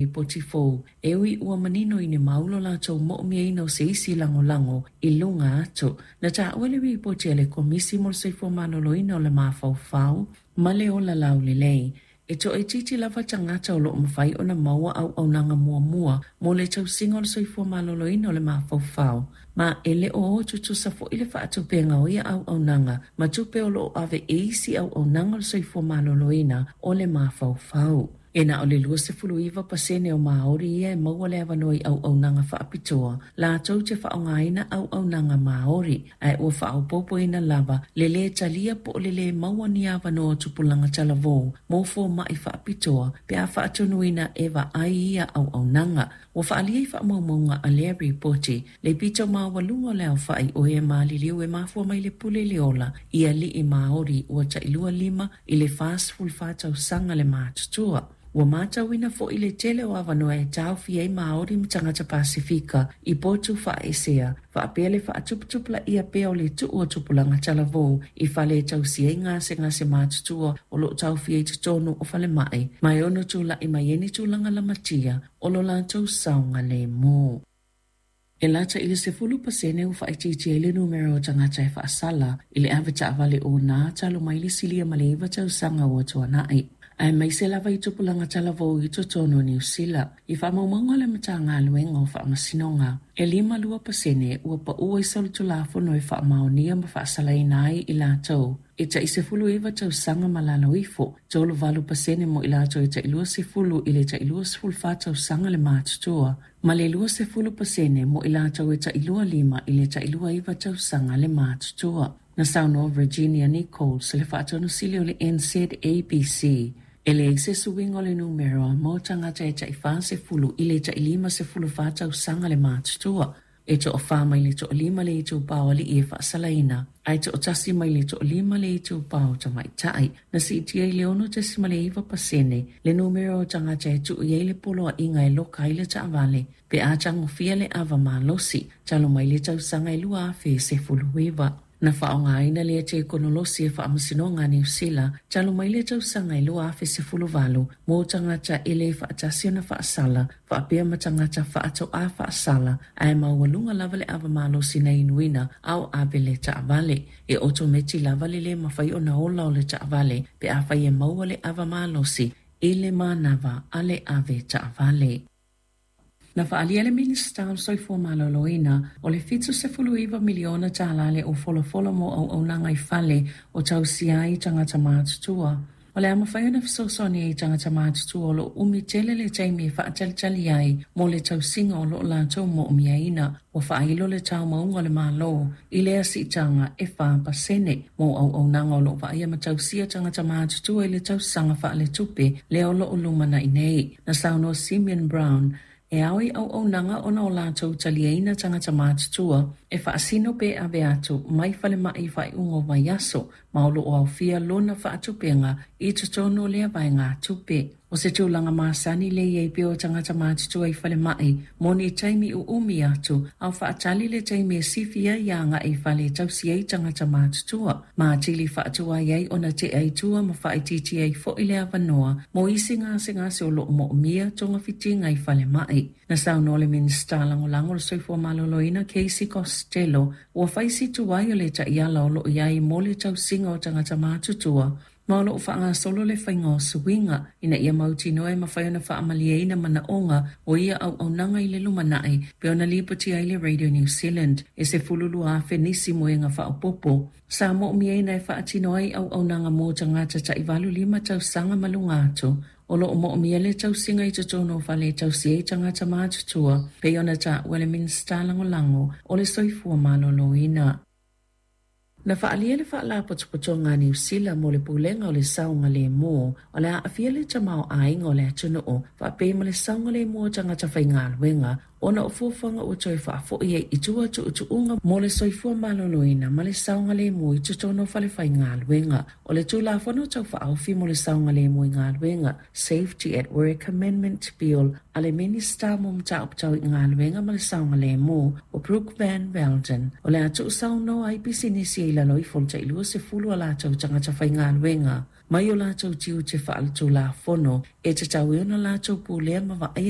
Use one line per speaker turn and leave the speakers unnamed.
Lipoti fou, e ui ua manino i ni mau lo latou mo'omiaina o se isi lagolago i luga atu. Na ta'ua le Lipoti a le Komisi mo le Soifua Maloloina o le Mafaufau ma le Ola Laulelei, e to'aitiiti lava tagata o lo'o mafai ona maua auaunaga muamua mo le tausiga o le soifua maloloina o le mafaufau, ma e le o o tutusa fo'i le fa'atupega o ia auaunaga ma tupe o lo'o ave i isi auaunaga o le soifua maloloina o le mafaufau. E na o le 29% o Māori ia e maua le avanoa i auaunaga fa'apitoa latou te fa'aaogāina auaunaga Māori, ae ua fa'aopoopoina lava le lē talia po o le lē maua ni avanoa o tupulaga talavou mo foma'i fa'apitoa pe a fa'atonuina e va'ai ia auaunaga. Ua fa'aalia i fa'amaumauga a lea Lipoti le pito maualuga o le aofa'i o e maliliu e mafua mai le pule le ola i ali'i Māori ua ta'i 25 i le 44 tausaga le matutua. Ua matauina fo'i le tele o avanoa e taofia ai Māori ma tagata Pasefika i potu fa'aesea, fa'apea le fa'atuputupulaia pea o le tu'u o tupulaga talavou i fale e tausia ai gasegase matutua o lo'o taofia i totonu o falema'i, ma e ono tula'i mai ai ni tulaga lamatia o lo latou saogalemu. E lata i le 10% ua fa'aitiitia ai le numera o tagata e fa'asala i le ave ta'avale ōnā talu mai le silia ma le 9 tausaga ua tuana'i, aemaise lava i tupulaga talavou i totonu o Niu Sila. I fa'amaumauga a le Matagaluega o Fa'amasinoga, e 52% ua pa'u ai solitulafono e fa'amaonia ma fa'asalaina ai i latou e ta'i 19 tausaga ma lalo ifo, 38% mo i latou e ta'i 20 i le ta'i 24 tausaga le matutua, ma le 20% mo i latou e ta'i 25 i le ta'i 29 tausaga le matutua. Na saunoa Virginia Nichols, le faatonusili o le NZABC, e leai se suiga o le numera mo tagata e ta'i 40 i le ta'i 54 tausaga le matutua. E to'afa mai le 5 le itupā o ali'i e fa'asalaina, ae 1 mai le 5 le itupā o tamaita'i. Na si'itia i le 6.9% le numera o tagata e tu'u i ai le poloa'iga e loka ai le ta'avale pe a tagofia le ava malosi talu mai le tausaga e 2019. Na fa'aaogāina lea tekonolosi e Fa'amasinoga a Niu Sila talu mai le tausaga e 2018 mo tagata e lē fa'atasi ona fa'asala fa'apea ma tagata fa'ato'ā fa'asala, ae maualuga lava le ava malosi na inuina a o ave le ta'avale. E otometi lava le lē mafai ona ola o le ta'avale pe afai e maua le ava malosi i le manava a le ave ta'avale. Na fa'aalia e le Minisita o le Soifua Maloloina o le $79 miliona tālā le ufolafola mo auaunaga i fale o tausia ai tagata matutua. O le a mafai ona fesoasoani ai i tagata matutua o lo'o umi tele le taimi e fa'atalitali ai mo le tausiga o lo'o latou mo'omiaina. Ua fa'ailo le taumauga o le Mālō i lea si'itaga e 4% mo auaunaga o lo'o va'aia ma tausia tagata matutua i le tausaga fa'aletupe lea o lo'o lumana'i nei. Na saunoa Simeon Brown, e ao i auaunaga ona o latou taliaina tagata matutua e fa'asino pe ave atu mai falema'i i fa'ai'uga o vaiaso, ma o lo'o aofia lona fa'atupega i totonu o lea vaegatupe. O se tulaga masani le i ai pea o tagata matutua i falema'i mo ni taimi u'umi atu a o fa'atali le taimi e sifi ai aga'i i fale e tausi ai tagata matutua, ma atili fa'atuai ai ona te'a i tua ma fa'aitiitia ai fo'i le avanoa mo isi gasegase o lo'o mo'omia togafitiga i falema'i. Na saunoa le Minisita Lagolago o le Soifua Maloloina Casey Costello, ua fai si tuai o le ta'iala o lo'o i ai mo le tausiga o tagata matutua, ma o lo'o fa'agasolo le faiga o suiga ina ia mautinoa e mafai ona fa'amalieina mana'oga o ia auaunaga i le lumana'i, pe ona lipotia ai le Radio New Zealand. E 12,000 nisi moega fa'aopoopo sa mo'omiaina e fa'atino ai auaunaga mo tagata ta'i 85 tausaga ma luga atu o lo'o mo'omia le tausiga i totonu o fale e tausi ai tagata matutua, pei ona ta'ua le Minisita Lagolago o le Soifua Maloloina. Na fa'aalia le Fa'alapotopotoga a Niu Sila mo le Pulega o le Saogalēmū o le a a'afia le tamaoaiga o le atunu'u fa'apea ma le saogalēmū o tagata faigaluega ona o fuafuaga ua toe fa'afo'i ai i tua tu'utu'uga mo le soifua maloloina ma le saogalēmū i totonu o fale faigaluega. O le Tulafono Tau Fa'aofi mo le Saogalēmū i Galuega, Safety at Work Amendment Bill, a le Minisita mo Mataupu Tau i Galuega ma le Saogalēmū o Brooke Van Velden, o le a tu'usaunoa ai pisinisi e i lalo ifo o le ta'i 20 a latou tagata faigaluega. mai o latou tiute faaletulafono e tatau ai ona latou pulea ma vaaia.